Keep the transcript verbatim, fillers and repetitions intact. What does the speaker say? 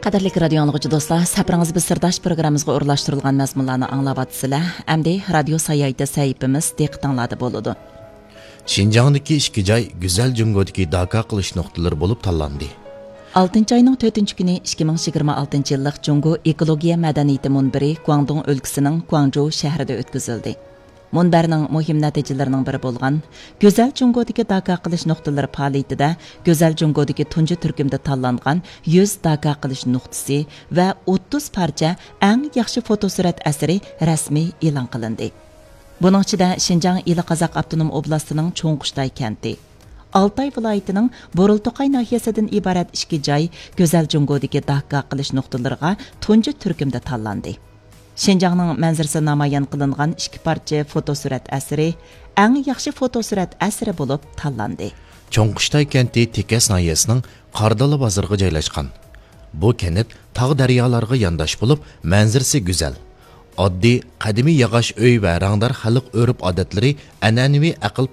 قەدىرلىك رادىيو ئاڭلىغۇچى دوستلار، سەپىرىڭىز بىز سىرداش پروگراممىمىزغا ئورۇنلاشتۇرۇلغان مەزمۇنلارنى ئاڭلاۋاتىسىلەر. ئەمدى رادىيو ساياھىتى سەھىپىمىز دىققىتىڭلاردا بولىدۇ. شىنجاڭدىكى ئىككى جاي گۈزەل جۇڭگودىكى داكا قىلىش نۇقتىلىرى بولۇپ تاللاندى. ئالتىنچى ئاينىڭ تۆتىنچى كۈنى ئىككى مىڭ يىگىرمە ئالتىنچى يىللىق جۇڭگو ئېكولوگىيە مەدەنىيىتى مۇنبىرى گۇاڭدۇڭ ئۆلكىسىنىڭ گۇاڭجۇ شەھىرىدە ئۆتكۈزۈلدى. مۇنبەرنىڭ مۇھىم نەتىجىلىرىنىڭ بىرى بولغان گۈزەل جۇڭگودىكى داكا قىلىش نۇقتىلىرى پائالىيىتىدە گۈزەل جۇڭگودىكى تۇنجى تۈركۈمدە تاللانغان يۈز داكا قىلىش نۇقتىسى ۋە ئوتتۇز پارچە ئەڭ ياخشى فوتوسۈرەت ئەسىرى رەسمىي ئېلان قىلىندى. بۇنىڭ ئىچىدە شىنجاڭ ئىلى قازاق ئاپتونوم ئوبلاستىنىڭ چوڭقۇشتاي كەنتى، ئالتاي ۋىلايىتىنىڭ بۇرۇلتۇقاي ناھىيەسىدىن ئىبارەت ئىككى جاي گۈزەل جۇڭگودىكى داكا قىلىش نۇقتىلىرىغا تۇنجى تۈركۈمدە تاللاندى. شىنجاڭنىڭ مەنزىرىسى نامايان قىلىنغان ئىككى پارچە فوتوسۈرەت ئەسىرى ئەڭ ياخشى فوتوسۈرەت ئەسىرى بولۇپ تاللاندى. چوڭقۇشتاي كەنتى تېكەس ناھىيەسىنىڭ قاردالا بازىرىغا جايلاشقان. بۇ كەنت تاغ دەريالارغا يانداش بولۇپ، مەنزىرىسى گۈزەل. ئاددىي، قەدىمىي ياغاچ ئۆي ۋە رەڭدار خەلق ئۆرپ-ئادەتلىرى ئەنئەنىۋى ئەقىل